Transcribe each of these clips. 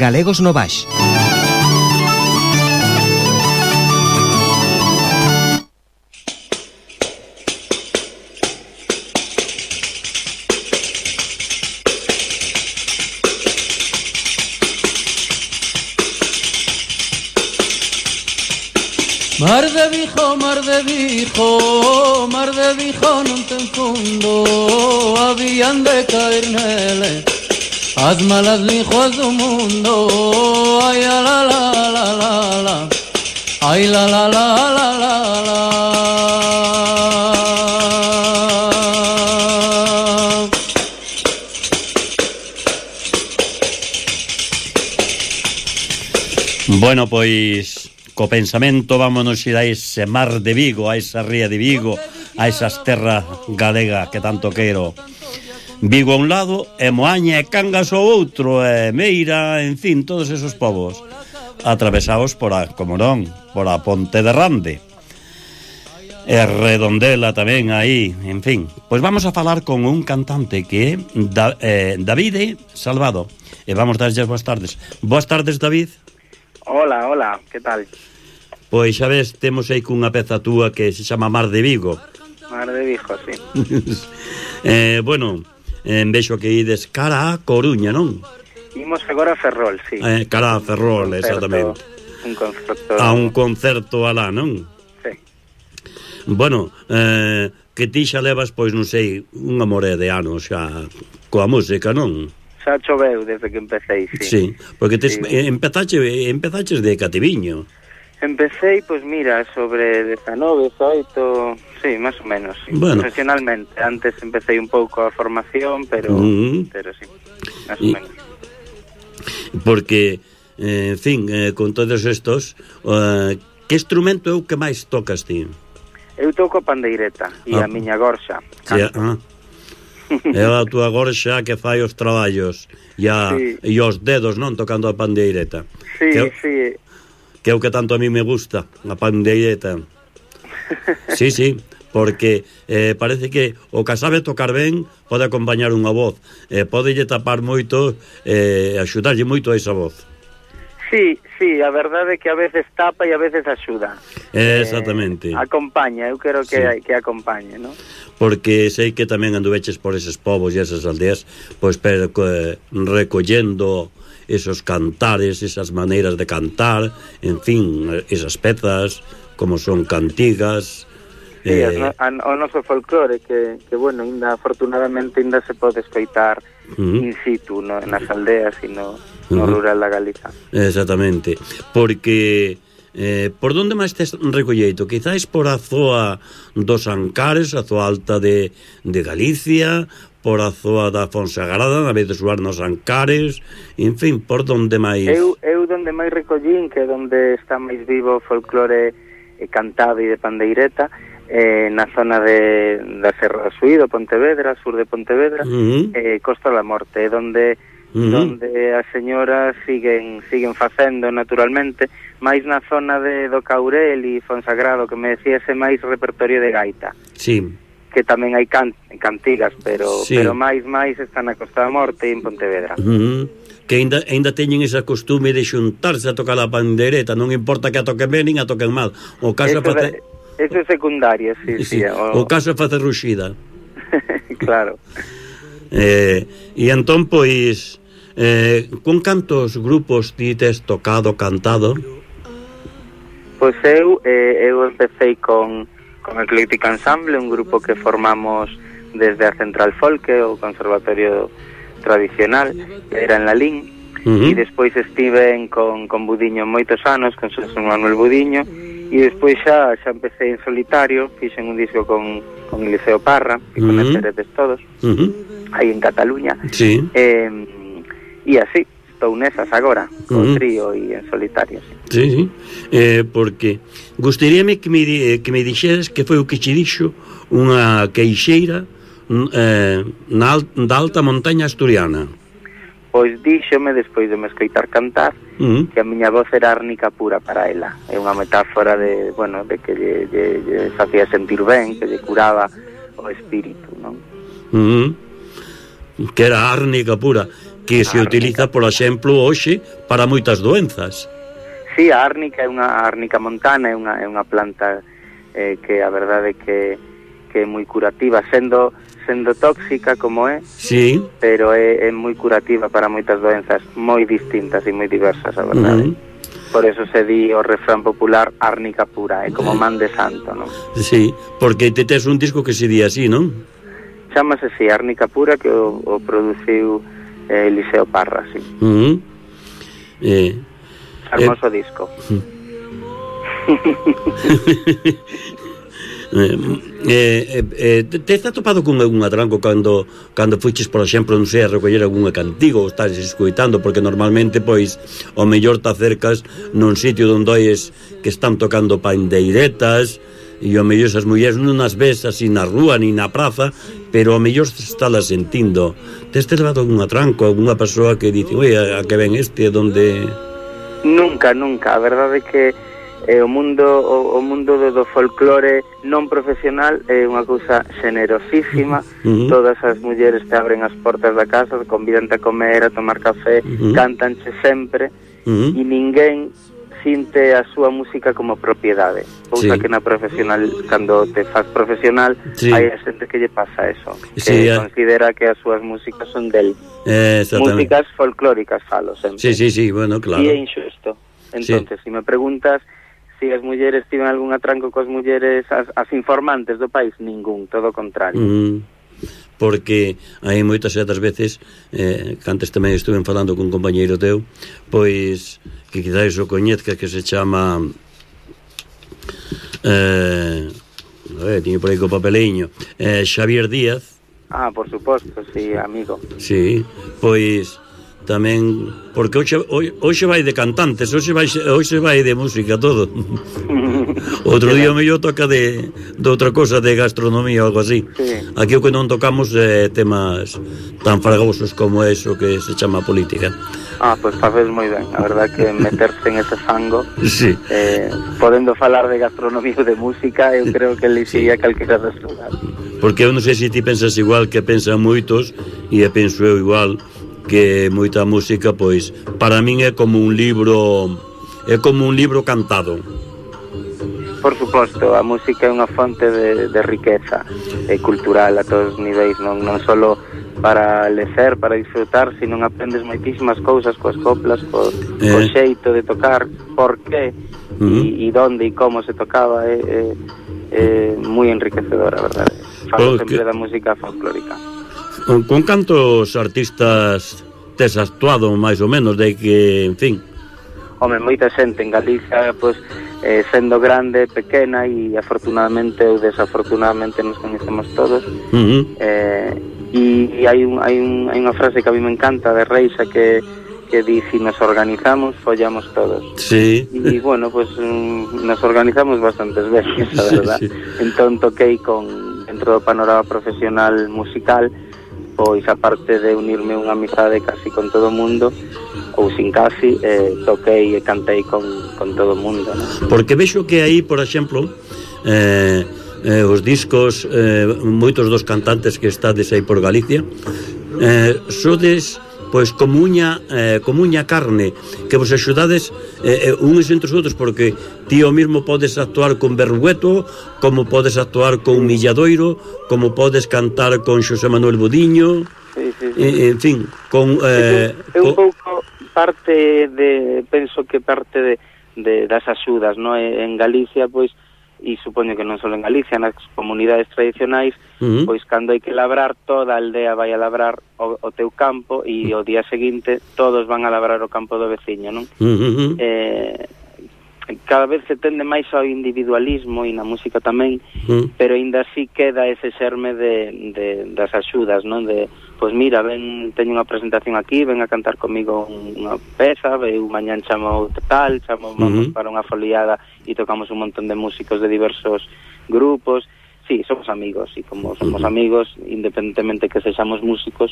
Galegos no Baix. Mar de Vigo, mar de Vigo, mar de Vigo non ten fundo, habían de caer nele as malas linguas do mundo. Ai la la la la la la, ai la la la la la la. Bueno, pois co pensamento vámonos ir a ese mar de Vigo, a esa ría de Vigo, a esas terras galega que tanto quero. Vigo a un lado, e Moaña e Cangas ao outro, e Meira, en fin, todos esos povos atravesados por a, como non, por a Ponte de Rande e Redondela tamén aí, en fin. Pois vamos a falar con un cantante que é Davide Salvado, e vamos darlle boas tardes. Boas tardes, David. Hola, hola, que tal? Pois xa ves, temos aí cunha peza túa que se chama Mar de Vigo. Mar de Vigo, sí. Bueno, vexo que ides cara a Coruña, non? Imos agora a Ferrol, sí. Cara a Ferrol, exactamente. Un concerto. A un concerto alá, non? Sí. Bueno, que ti xa levas, pois non sei, unha moré de anos xa coa música, non? Xa choveu desde que empecéi, sí. Sí, porque sí. Empezaches de cativiño. Empecéi, pois mira, sobre 19, 18, sí, máis ou menos, sí. Bueno. Profesionalmente. Antes empecéi un pouco a formación, pero sí, máis ou menos. Porque, en fin, con todos estos, que instrumento é o que máis tocas ti? Eu toco a pandeireta e a miña gorxa. Canto. É a túa gorxa que fai os traballos e os dedos, non, tocando a pandeireta. Sí, sí. Que é o que tanto a mí me gusta, a pandeireta. Sí, porque parece que o que sabe tocar ben pode acompañar unha voz, podelle tapar moito, axudarlle moito a esa voz. Sí, a verdade é que a veces tapa e a veces axuda. Exactamente. Acompaña, eu quero que acompañe, non? Porque sei que tamén anduveches por eses povos e esas aldeas, pois recollendo esos cantares, esas maneiras de cantar, en fin, esas pezas, como son cantigas. Sí, o noso folclore que bueno, afortunadamente ainda se pode escoitar in situ, no, nas aldeas e no rural da Galiza. Exactamente, porque por onde máis tes recolleito? Quizáis por a zoa dos Ancares, a zoa alta de Galicia, por a zoa da Fonsagrada, na vez de suar nos Ancares, en fin, por onde máis? Eu donde máis recollín, que é onde está máis vivo o folclore cantado e de pandeireta, na zona da Serra da Suído, Pontevedra, sur de Pontevedra, Costa da Morte, donde as señoras siguen facendo naturalmente, máis na zona do Caurel e Fonsagrado, que me decía ese máis repertorio de gaita. Sí. Que tamén hai cantigas, pero máis está na Costa da Morte e en Pontevedra. Que ainda teñen esa costume de xuntarse a tocar a pandereta, non importa que a toquen ben nin a toquen mal. O caso eso é secundario, sí. O caso é facer ruxida. Claro. E entón, pois, con cantos grupos ti tes tocado, cantado? Pois eu empecé con Ecléctica Ensemble, un grupo que formamos desde a Central Folk, o Conservatorio Tradicional, que era en Lalín, e despois estive con Budiño moitos anos, con Xosé Manuel Budiño, e despois xa empecé en solitario, fixen un disco con Eliseo Parra, que conoceredes todos, aí en Cataluña, e así, estou nesas agora, con trío e en solitario. Sí, porque gustaríame que me dixeres que foi o que che dixo unha queixeira da alta montaña asturiana. Pois díxome, despois de me escoitar cantar, que a miña voz era árnica pura para ela. É unha metáfora de que lle facía sentir ben, que lle curaba o espírito, non? Que era árnica pura. que se utiliza, por exemplo, hoxe para moitas doenzas. Sí, a árnica é unha árnica montana, é unha planta que a verdade que é moi curativa, sendo tóxica como é, sí, pero é moi curativa para moitas doenzas moi distintas e moi diversas, a verdade. Por eso se di o refrán popular árnica pura, é como man de santo, non? Sí, porque te tes un disco que se di así, non? Chámase así, árnica pura, que o produciu Eliseo Parra, sí. Hermoso disco. Te está topado con algún atranco cando fuches, por exemplo, non sei, a recoller algún cantigo ou estás escoitando, porque normalmente, pois, ao mellor te acercas nun sitio onde oes que están tocando pandeiretas e ao mellor esas mulleres non as ves así na rúa ni na praza, pero ao mellor estálas sentindo. Te levado algún atranco, algunha persoa que dice, oi, a que ven este, donde... Nunca, a verdade é que o mundo do folclore non profesional é unha cousa generosísima. Todas as mulleres te abren as portas da casa, convídante a comer, a tomar café, cántanche sempre, e ninguén sinte a súa música como propiedade, cousa que na profesional, cando te faz profesional, hai a xente que lle pasa eso, que considera que as súas músicas son del. Músicas folclóricas, falo sempre. Sí, bueno, claro. E é injusto. Entonces, se me preguntas se as mulleres tiven algún atranco coas mulleres, as informantes do país, ningún, todo o contrario. Porque hai moitas outras veces, que antes tamén estuve falando con un compañeiro teu, pois, que quizás o coñezca, que se chama tiño por aí co papeliño, Xavier Díaz. Por suposto, sí, amigo. Sí, pois tamén, porque hoxe vai de cantantes, hoxe vai de música todo. Outro día o mellor toca de outra cosa, de gastronomía ou algo así. Aquí o que non tocamos é temas tan fragosos como eso que se chama política. Pois faces moi ben, a verdad que meterse en ese fango, podendo falar de gastronomía ou de música, eu creo que le sería calquera das lugar. Porque eu non sei se ti pensas igual que pensan moitos, e penso eu igual, que moita música, pois, para min é como un libro cantado. Por suposto, a música é unha fonte de riqueza cultural a todos os niveis, non só para lecer, para disfrutar, sino aprendes moitísimas cousas coas coplas, co xeito de tocar, por qué e donde e como se tocaba, é moi enriquecedora, a verdade. Falo sempre da música folclórica. Con cantos artistas tes actuado, máis ou menos, de que, en fin? Home, moita xente en Galicia, pois, sendo grande, pequena, e afortunadamente ou desafortunadamente nos coñecemos todos. E hai unha frase que a mí me encanta de Reixa que di, si nos organizamos, follamos todos. Sí. E, bueno, pois, nos organizamos bastantes veces, a verdad. Entón toquei dentro do panorama profesional musical, pois, aparte de unirme unha amizade casi con todo o mundo, ou sin casi, toquei e cantei con todo o mundo, ¿no? Porque vexo que aí, por exemplo, os discos, moitos dos cantantes que estades aí por Galicia, sodes, pois, como uña carne, que vos axudades uns entre os outros, porque ti o mismo podes actuar con Berrugueto, como podes actuar con Milladoiro, como podes cantar con Xosé Manuel Budiño, en fin, con... É un pouco penso que parte das axudas, non? En Galicia, pois, e supoño que non só en Galicia, nas comunidades tradicionais, pois cando hai que labrar, toda a aldea vai a labrar o teu campo, e o día seguinte todos van a labrar o campo do veciño, non? Cada vez se tende máis ao individualismo, e na música tamén, pero aínda así queda ese xerme das axudas, non? Pois mira, teño unha presentación aquí, ven a cantar comigo unha peza, eu mañán chamo vamos para unha foliada e tocamos un montón de músicos de diversos grupos, sí, somos amigos, e como somos amigos, independentemente que sexamos músicos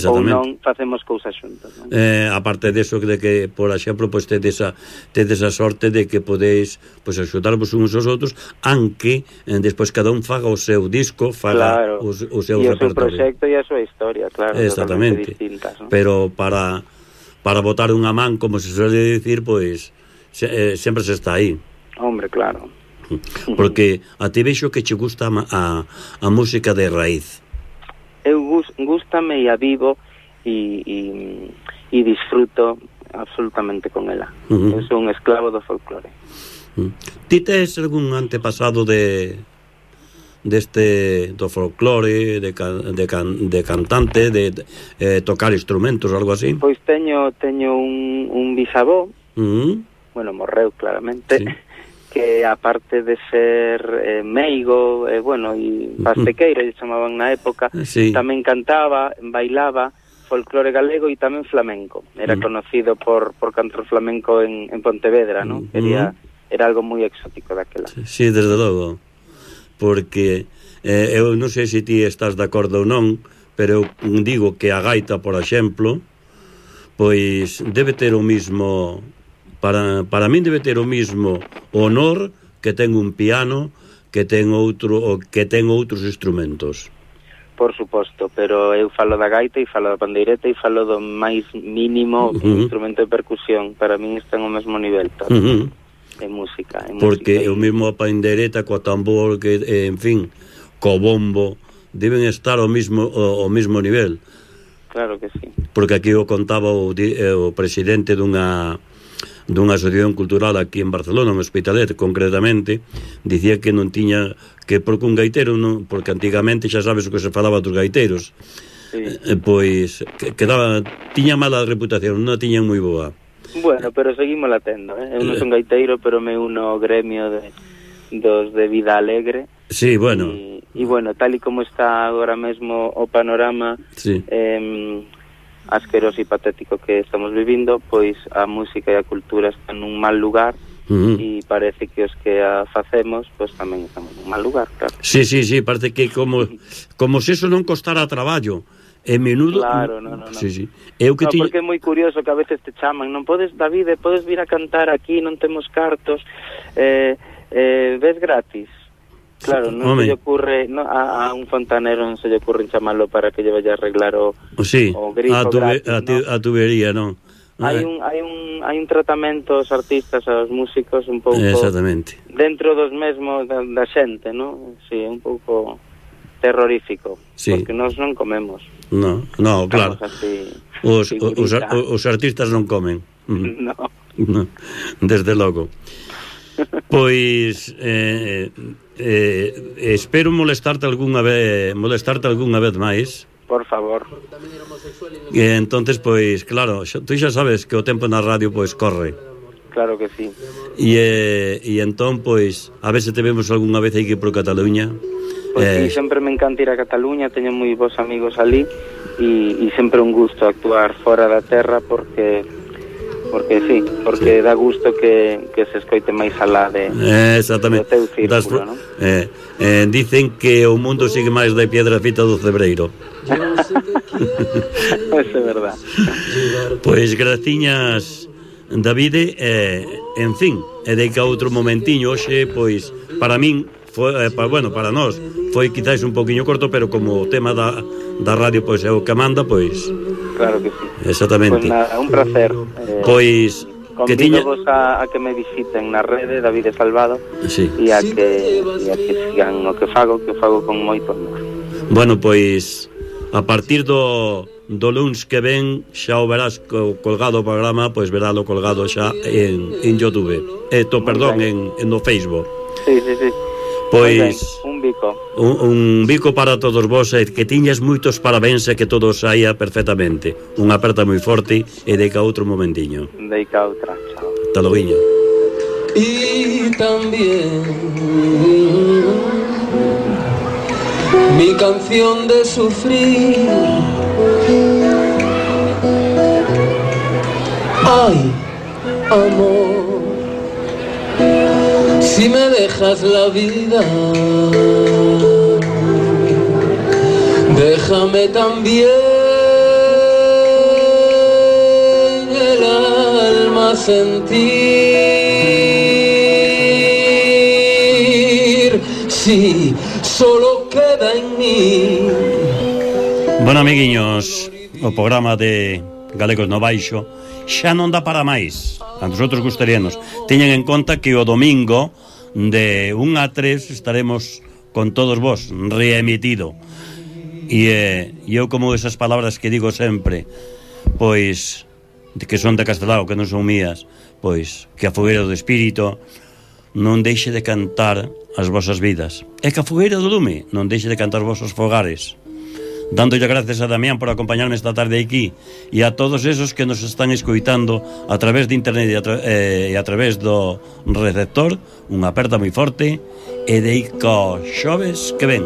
ou non, facemos cousas xuntos, non? Aparte deso, de que, por exemplo, pois tedes a sorte de que podeis pois axudarvos uns aos outros, aunque despois cada un faga o seu disco, faga o seu repertorio. E o seu proxecto e a súa historia, claro, exactamente, distintas, non? Pero para botar unha man, como se suele dicir, pois sempre se está aí. Hombre, claro. Porque a ti vexo que che gusta a música de raíz. Eu gústame e a vivo e disfruto absolutamente con ela. Eu sou un esclavo do folclore. Ti tes algún antepasado do folclore, de cantante, de tocar instrumentos ou algo así? Pois teño un bisavó, bueno, morreu claramente, sí, que aparte de ser meigo, bueno, e pastequeiro, lle chamaban na época, sí, tamén cantaba, bailaba folclore galego e tamén flamenco. Era conocido por cantar flamenco en Pontevedra, ¿no? Era algo moi exótico daquela. Sí, desde logo. Porque eu non sei se ti estás de acordo ou non, pero eu digo que a gaita, por exemplo, pois debe ter o mismo... Para min debe ter o mismo honor que ten un piano, que ten outros instrumentos. Por suposto, pero eu falo da gaita e falo da pandeireta e falo do máis mínimo instrumento de percusión. Para min están ao mesmo nivel todo. En música. Porque o mesmo a pandeireta coa tambor, que, en fin, co bombo, deben estar ao mesmo nivel. Claro que sí. Porque aquí o contaba o presidente dunha asociación cultural aquí en Barcelona, en Hospitalet, concretamente, dicía que non tiña, que porque un gaitero non, porque antigamente xa sabes o que se falaba dos gaiteiros, sí, pois tiña mala reputación, non a tiñan moi boa. Bueno, pero seguimos la tendo, eu non son gaiteiro, pero me uno ao gremio dos de vida alegre. Sí, bueno. E bueno, tal e como está agora mesmo o panorama, sí, asqueroso e patético que estamos vivindo, pois a música e a cultura están nun mal lugar, e parece que os que a facemos pois tamén estamos nun mal lugar, claro. Sí, parece que como se eso non costara traballo. Menudo... Claro, no. Sí. Porque é moi curioso que a veces te chaman, non podes, David, podes vir a cantar aquí, non temos cartos, ves gratis. Claro, non se lle ocurre, a un fontanero non se lle ocurre chamarlo para que lle vaya a arreglar o grifo gratis, a tubería, non? Hai un tratamento aos artistas, aos músicos un pouco exactamente dentro dos mesmos da xente, non? Si, un pouco terrorífico, sí, porque nós non comemos. No, claro. Os artistas non comen. No. Desde logo. Pois espero molestarte algunha vez máis. Por favor. E entonces, pois, claro, tú xa sabes que o tempo na radio pois corre. Claro que sí. E entón, pois, a ver se te vemos algunha vez aquí por Cataluña. Pois sí, sempre me encanta ir a Cataluña, teño moi bons amigos ali e sempre un gusto actuar fora da terra porque dá gusto que se escoite máis alá de exactamente, do teu círculo, non? Dicen que o mundo sigue máis da piedra fita do cebreiro. Eso é verdad. Pois graciñas, Davide, en fin, e deica outro momentiño hoxe, pois, para min para nós foi quizás un poquinho corto, pero como o tema da radio pois é o que manda, pois claro que sí. Exactamente. Pois nada, un placer. Pois convídovos a que me visiten na rede David Salvado, sí, e a que sigan o que fago con moito amor. Bueno, pois a partir do luns que ven xa o verás colgado o programa, pois veralo colgado xa en YouTube. Perdón, en no Facebook. Sí. Pois un bico. Un bico para todos vos, e que tiñas moitos parabéns e que todo saía perfectamente. Unha aperta moi forte e deica outro momentiño. Deica outra, chao. Hasta logo. Y también mi canción de sufrir. Ay, amor, si me dejas la vida, déjame también el alma sentir, si solo queda en mí. Bueno, amiguiños, o programa de Galegos no Baixo xa non dá para máis. A nosotros gustaríanos. Teñan en conta que o domingo de 1 a 3 estaremos con todos vos, reemitido. E eu, como esas palabras que digo sempre, pois, que son de Castelao, que non son mías, pois, que a fogueira do espírito non deixe de cantar as vosas vidas. E que a fogueira do lume non deixe de cantar os vosos fogares. Dándolle gracias a Damián por acompañarme esta tarde aquí e a todos esos que nos están escoitando a través de internet e a través do receptor. Unha aperta moi forte e deico xoves que ven.